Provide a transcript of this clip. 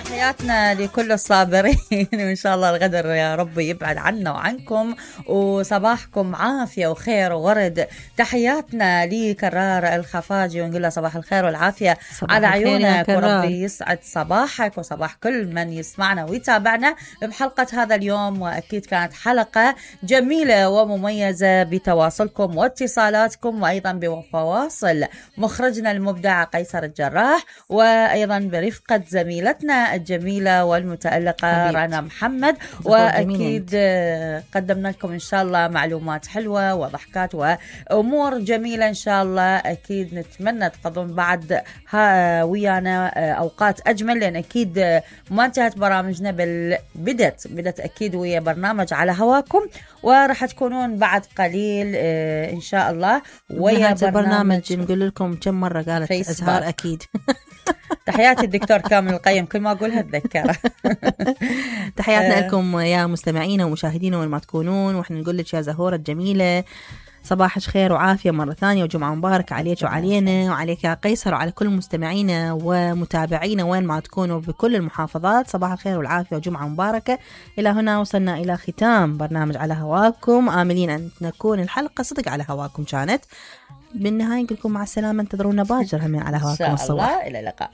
تحياتنا لكل الصابرين وإن شاء الله الغدر يا رب يبعد عنا وعنكم وصباحكم عافية وخير وورد. تحياتنا لكرار الخفاجي ونقول له صباح الخير والعافية على عيونك وربي يسعد صباحك وصباح كل من يسمعنا ويتابعنا بحلقة هذا اليوم. وأكيد كانت حلقة جميلة ومميزة بتواصلكم واتصالاتكم وأيضا بفواصل مخرجنا المبدع قيصر الجراح وأيضا برفقة زميلتنا الجميلة والمتألقة رنا محمد. وأكيد قدمنا لكم إن شاء الله معلومات حلوة وضحكات وأمور جميلة إن شاء الله. أكيد نتمنى تقضون بعد ويانا أوقات أجمل لأن أكيد ما انتهت برامجنا بل بدت أكيد ويا برنامج على هواكم وراح تكونون بعد قليل إن شاء الله ويا برنامج نقول لكم كم مرة قالت أزهار أكيد. تحياتي الدكتور كامل القيم كل ما أقولها أتذكره. تحياتنا لكم يا مستمعين ومشاهدين وين ما تكونون وإحنا نقول لك يا زهورة الجميلة صباح خير وعافية مرة ثانية وجمعة مباركة عليك وعلينا وعليك يا قيصر وعلى كل مستمعينا ومتابعينا وين ما تكونوا بكل المحافظات. صباح الخير والعافية وجمعة مباركة. إلى هنا وصلنا إلى ختام برنامج على هواكم آملين أن تكون الحلقة صدق على هواكم كانت. بالنهاية نقول لكم مع السلامة انتظرونا باجر همين على هواكم الصباح. إن شاء الله إلى اللقاء.